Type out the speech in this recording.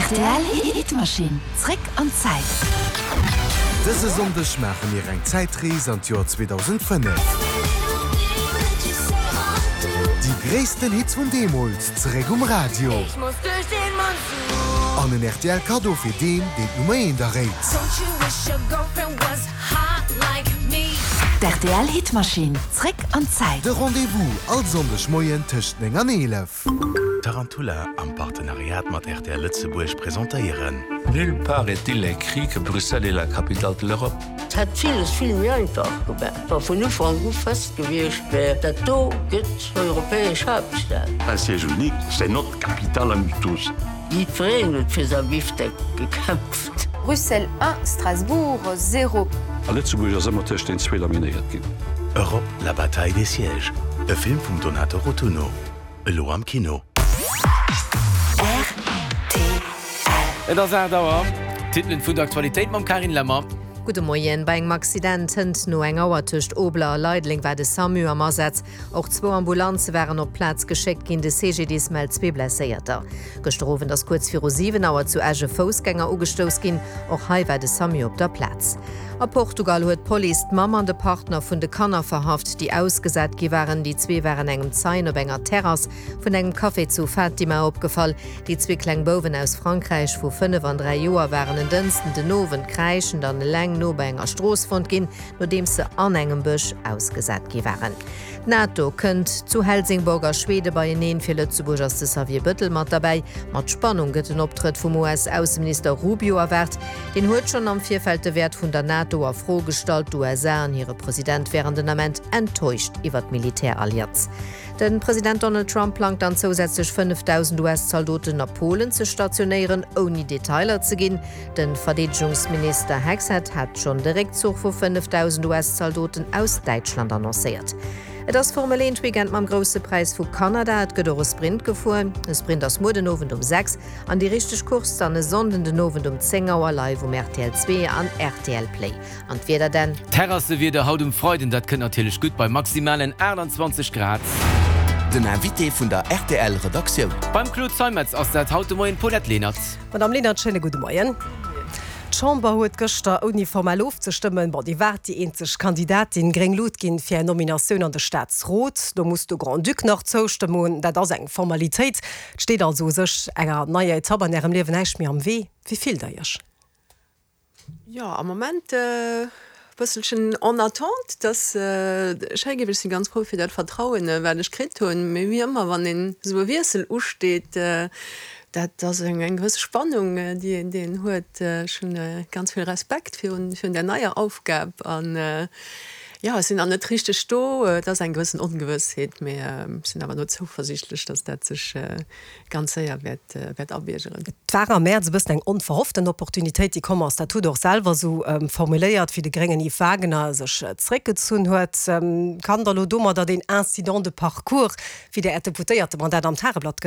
Rtl Hitmaschinn, zréck an d'Zäit. Dëse Sonndeg maache mir eng Zäitrees an d'Joer 2005. Déi gréissten Hits vun deemools zeréck um Radio. An en rtl Kaddo fir deen, deen d'Nummer eent erréit. D'RTL Hitmaschinn, zréck an d'Zäit. De Rendez-vous all Sonndeg Moien tëscht 9 an 11. Tarantula am Partenariat mat rtl Lëtzebuerg presentéieren. Nulle part est-il écrit que Bruxelles est la capitale de l'Europe. Et hätt villes vill méi einfach gemaach, wa vun Ufank u fest gewiescht wär, dat do gëtt europäesch Haaptstad. Un siège unique, c'est notre capitale à nous tous. Jiddwereen huet fir säi Bifdeck gekämpft. Bruxelles 1, Strasbourg 0. A Lëtzebuerg ass ëmmer tëscht den zwee laminéiert ginn. Europe, la bataille des sièges, e Film vum Donato Rotunno, elo am Kino. Rtl. Et ass 8 Auer. D'Titelen vun der Aktualitéit mam Carine Lemmer. Gudde Moien. Bei engem Accident hënt no eng Auer tëscht Obler a Leideleng war de Samu am Asaz. Och zwou Ambulanze waren op d'Plaz geschéckt ginn. De CGDIS mellt zwee Blesséierter. Gëschter Owend ass kuerz viru 7 Auer zu Esch e Foussgänger ugestouss ginn. Och hei war de Samu op der Plaz. A Portugal huet d'Police d'Mamm an de Partner vun de Kanner verhaft, déi ausgesat gi waren. Déi zwee waren engem Zeien op enger Terrass vun engem Café zu Fatima opgefall. Déi zwee kleng Bouwen aus Frankräich vu 5 an 3 Joer waren en Dënschden den Owend kräischend an eleng no bei enger Strooss fonnt ginn, nodeems se an engem Bësch ausgesat gi waren. D'NATO kënnt zu Helsingborg a Schwede beieneen. Fir Lëtzebuerg ass de Xavier Bëttel mat derbäi. Mat Spannung gëtt den Optrëtt vum US-Ausseminister Rubio erwaart. Deen huet schonn am Virfeld de Wäert vun der NATO a Fro gestallt. D'USA an hire President wären den Ament enttäuscht iwwer d'Militärallianz. De President Donald Trump plangt dann zousätzlech 5.000 US-Zaldoten a Polen ze stationéieren, ouni Detailer ze ginn. De Verdeedegungsminister Hegseth hat schonn de Réckzuch vu 5.000 US-Zaldoten aus Däitschland annoncéiert. Et ass Formel 1 Weekend mam Grousse Präis vu Kanada. Et gëtt och e Sprint gefuer. E Sprint ass muer den Owend um 6 an déi richteg Course dann e Sonnden den Owend um 10 Auer live um rtl 2 an rtl Play. An d'Wieder denn? Terrassewieder haut um Freiden, dat kënnt natierlech gutt bei maximalen 28 Grad. Den Invité vun der rtl Redaktioun. Beim Claude Zeimetz ass dat haut de Moien d'Paulette Lenert. Madame Lenert, schéine gudde Moien. D'Chamber huet gëschter, ouni formell ofzestëmmen, bon, Dir waart déi eenzeg Kandidatin, gréng Lut ginn fir Är Nominatioun an de Staatsrot. Do muss de Grand-Duc nach zoustëmmen. Dat ass eng Formalitéit. Et steet also u sech enger neier Etapp an Ärem Liewen näischt méi am Wee. Wéi fillt Der Iech? Jo, am Moment e bësselchen en attente, dass schéi géif. Ech si ganz frou fir dat Vertrauen, wat ech kritt hunn. Mee wéi ëmmer, wann een esou e Wiessel usteet, dat ass eng gewësse Spannung, déi een, déi een huet. Ech hunn ganz vill Respekt virun, virun där neier Aufgab an, jo, ech sinn nach net richteg do. Et ass eng gewëssen Ongewëssheet, mee ech sinn awer elo zouversiichtlech, dass dat sech ganz séier wäert wäert abiergeren. Et war am Mäerz e bëssen eng onverhofften Opportunitéit, déi komm ass. Dat hutt Der och selwer esou formuléiert, wéi de gréngen Yves Wagener sech zeréckgezunn huet. Kann Der elo domadder deen Incident de parcours, wéi Der Äert Deputéiertemandat am Tageblatt.